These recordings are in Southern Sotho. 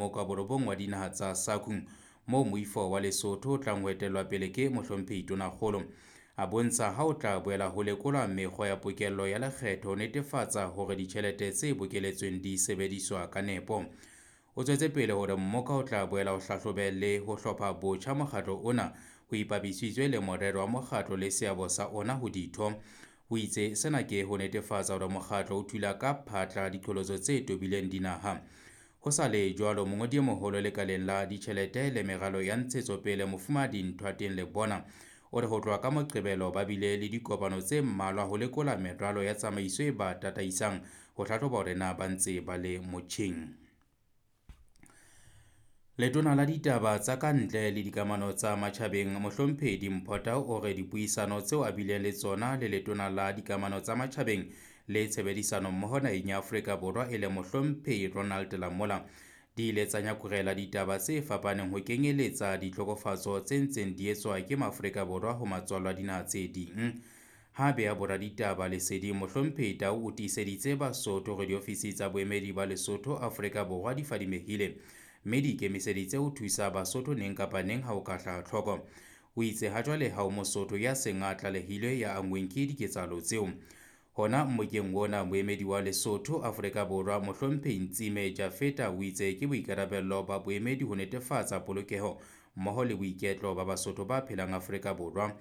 mmoka wa borobong wa dinaha tsa SACU, moo moifo wa Lesotho o tlang ho etellwa pele ke Mohlomphehi Tonakgolo. A bontsha ha o tla boela ho lekolwa mekgwa ya pokello ya lekgetho ho netefatsa hore ditjhelete tse bokeletsweng di sebediswa ka nepo. O tswetse pele hore mmoka o tla boela o hlahlobe le ho hlopha botjha mokgatlo ona ho ipapisitswe le morero wa mokgatlo le seabo sa ona ho ditho. O itse sena ke ho netefatsa hore mokgatlo o thula ka phatla diqholotso tse tobileng dinaha. Ho sa le jwalo, mongodi e moholo lekaleng la ditjhelete le meralo ya ntshetsopele Mofumahadi Nthoateng Lebona o re ho tloha ka Moqebelo ba bile le dikopano tse mmalwa ho lekola meralo ya tsamaiso e ba tataisang ho hlahloba hore na ba ntse ba le motjheng. Letona la ditaba tsa ka ntle le dikamano tsa matjhabeng Mohlomphehi Dimpho Tau o re dipuisano tseo a bileng le tsona le letona la dikamano tsa matjhabeng le tshebedisano mmoho naheng ya Afrika Borwa e le Mohlomphehi Ronald Lamola di ile tsa nyakurela ditaba tse fapaneng ho kenyeletsa ditlhokofatso tse ntseng di etswa ke Maafrika Borwa ho matswalo a dinaha tse ding. Ha beha boraditaba leseding, Mohlomphehi Tau o tiiseditse Basotho hore diofisi tsa boemedi ba Lesotho Afrika Borwa di fadimehile mme di ikemiseditse ho thusa Basotho neng kapa neng ha ho ka hlaha tlhoko. O itse ha jwale ha ho Mosotho ya seng a tlalehilwe ya anngweng ke diketsahalo tseo. Hona mmokeng ona, moemedi wa Lesotho Afrika Borwa Mohlomphehi Ntsime Jafeta o itse ke boikarabello ba boemedi ho netefatsa polokeho mmoho le boiketlo ba Basotho ba phelang Afrika Borwa.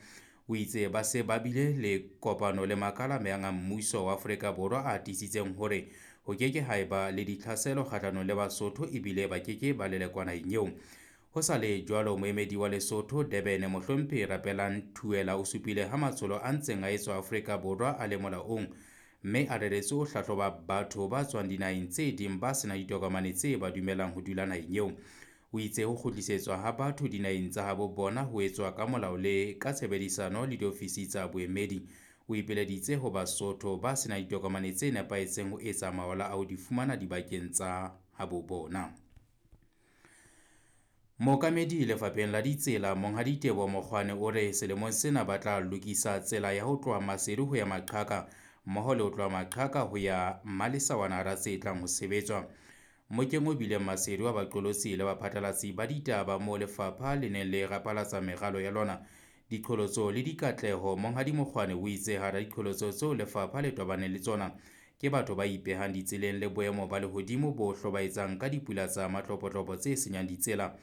O itse ba se ba bile le kopano le makala a mehang a mmuso wa Afrika Borwa a tiisitseng hore ho keke ha eba le ditlhaselo kgahlanong le Basotho ebile ba keke ba lelekwa naheng eo. Ho sa le jwalo, moemedi wa Lesotho Durban Mohlomphehi Rapelang Thuela o supile ha matsholo a ntseng a etswa Afrika Borwa a le molaong mme a reretswe ho hlahloba batho ba tswang dinaheng tse ding ba senang ditokomane tse ba dumellang ho dula naheng eo. O itse ho kgutlisetswa ha batho dinaheng tsa habo bona ho etswa ka molao le ka tshebedisano le diofisi tsa boemedi. O ipileditse ho Basotho ba senang ditokomane tse nepahetseng ho etsa mawala a ho di fumana dibakeng tsa habo bona. Mookamedi lefapheng la ditsela Monghadi Teboho Mokgwane o re selemong sena ba tla lokisa tsela ya ho tloha Maseru ho ya Maqhaka mmoho le ho tloha Maqhaka ho ya Mmalesawana hara tse tlang ho sebetswa. Mmokeng o bileng Maseru wa baqolotsi le baphatlalatsi ba ditaba moo lefapha le neng le rapalatsa meralo ya lona, diqholotso le dikatleho, Monghadi Mokgwane o itse hara diqholotso tseo lefapha le tobaneng le tsona ke batho ba ipehang ditseleng le boemo ba lehodimo bo hlobaetsang ka dipula tsa matlopotlopo tse senyang ditsela.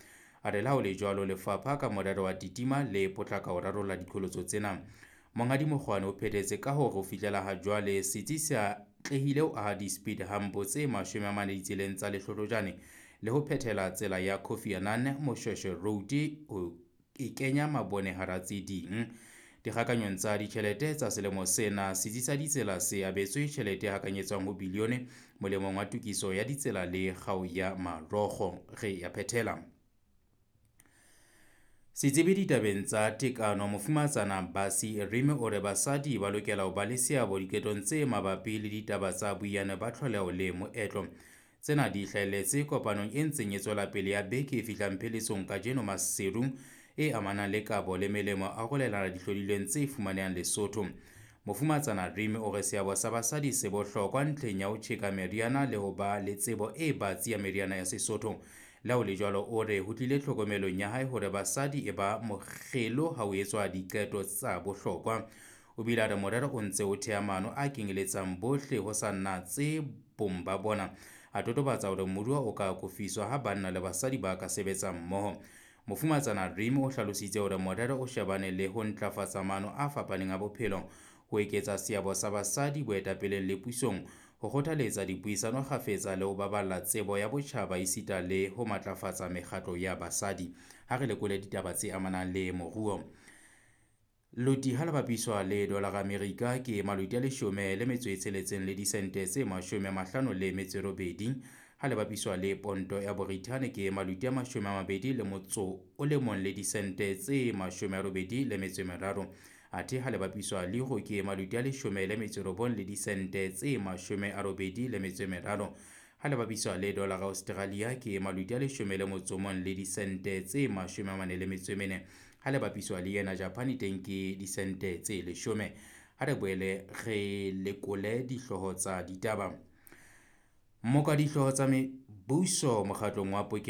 A re le ha ho le jwalo, lefapha ka morero wa titima le potlaka ho rarolla diqholotso tsena. Monghadi Mokgwane o phethetse ka hore ho fihlela ha jwale setsi se atlehile ho aha di-speed hump tse 40 ditseleng tsa Lehlohlojane le ho phethela tsela ya Kofi Annan Moshweshwe Road ho e kenya mabone hara tse ding. Dikgakanyong tsa ditjhelete tsa selemo sena, setsi sa ditsela se abetswe tjhelete e hakanyetswang ho bilione molemong wa tokiso ya ditsela le kgao ya marokgo. Re ya phethela. Setsebi ditabeng tsa tekano Mofumahatsana Basi Rime o re basadi ba lokela ho ba le seabo diqetong tse mabapi le ditaba tsa boiyane ba tlholeho le moetlo. Tsena di hlahelletse kopanong e ntseng e tswela pele ya beke e fihlang pheletsong kajeno Maseru e amanang le kabo le melemo a arolelana dihlodilweng tse fumanehang Lesotho. Mofumahatsana Rime o re seabo sa basadi se bohlokwa ntlheng ya ho tjheka meriana le ho ba le tsebo e batsi ya meriana ya Sesotho. Le ha ho le jwalo, o re ho tlile tlhokomelong ya hae hore basadi e ba mokgelo ha ho etswa diqeto tsa bohlokwa. O bile a re morero o ntse o theha maano a kenyeletsang bohle ho sa natse bong ba bona. A totobatsa hore moruo o ka akofiswa ha banna le basadi ba ka sebetsa mmoho. Mofumahatsana Rime o hlalositse hore morero o shebane le ho ntlafatsa maano a fapaneng a bophelo, ho eketsa seabo sa basadi boetapeleng le pusong, ho kgothaletsa dipuisano kgafetsa le ho baballa tsebo ya botjhaba esita le ho matlafatsa mekgatlo ya basadi. Ha re lekole ditaba tse amanang le moruo. Loti ha le bapiswa le dolara Amerika ke maloti a 16 le disente tse 58, ha le bapiswa le ponto ya Borithane ke maloti a 21 le disente tse 83, athe ha le bapiswa le euro ke maloti a 19 le disente tse 83, ha le bapiswa le dolara Australia ke maloti a 11 le disente tse 44, ha le bapiswa le yena Japan teng ke disente tse 10. Ha re boele re lekole dihlooho tsa ditaba. Mmoka dihlooho tsa mebuso mokgatlong wa pokello